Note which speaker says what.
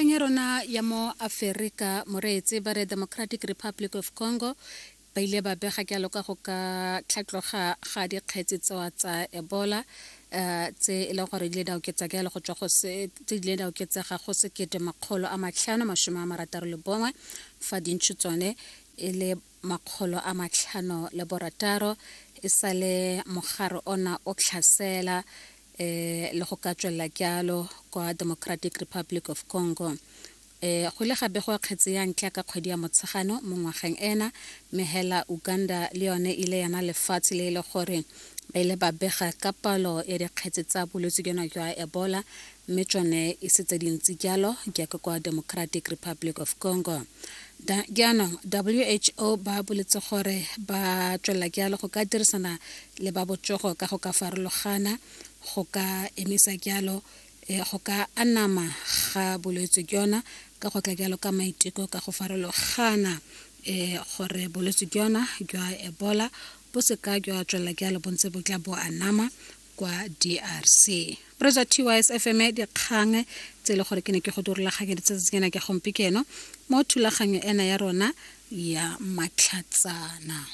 Speaker 1: Nageng ya rona ya mo Aferika moreetsi ba re Democratic Republic of Congo ba ile ba bega jalo ka go ka tlhatloga ga dikgetsi tsewa tsa Ebola um tse e leng gore di ile di a oketsa jalo go tswa go se tse di ile di a oketsega go 1561 fa dintšho tsone e le 506 e sale mogare ona o tlhasela um le go ka tswelela jalo kwa Democratic Republic of Congo. Um go ile ga begwa kgetse ya ntlha ka kgwedi ya Motshegano mo ngwageng ena, mme hela Uganda le yone ile yana lefatshe le e le gore ba ile ba bega ka palo ya dikgetse tsa bolwetse jona jwa Ebola, mme tsone e se tse dintsi jalo jaaka kwa Democratic Republic of Congo. Jaanong WHO ba boletse gore ba tswelela jalo go ka dirisana le ba botsogo ka go ka farologana go ka emisa jalo go ka anama ga bolwetse jona ka go tla jalo ka maiteko ka go farologana gore bolwetse jona jwa Ebola bo se ka jwa tswelela jalo bo ntse bo tla bo anama kwa DRC. Brother TYS FM dikgang tse e le gore ke ne ke go dirulaganyeditse tsatsi ke gompieno mo thulaganyo ena ya rona ya matlhatsana.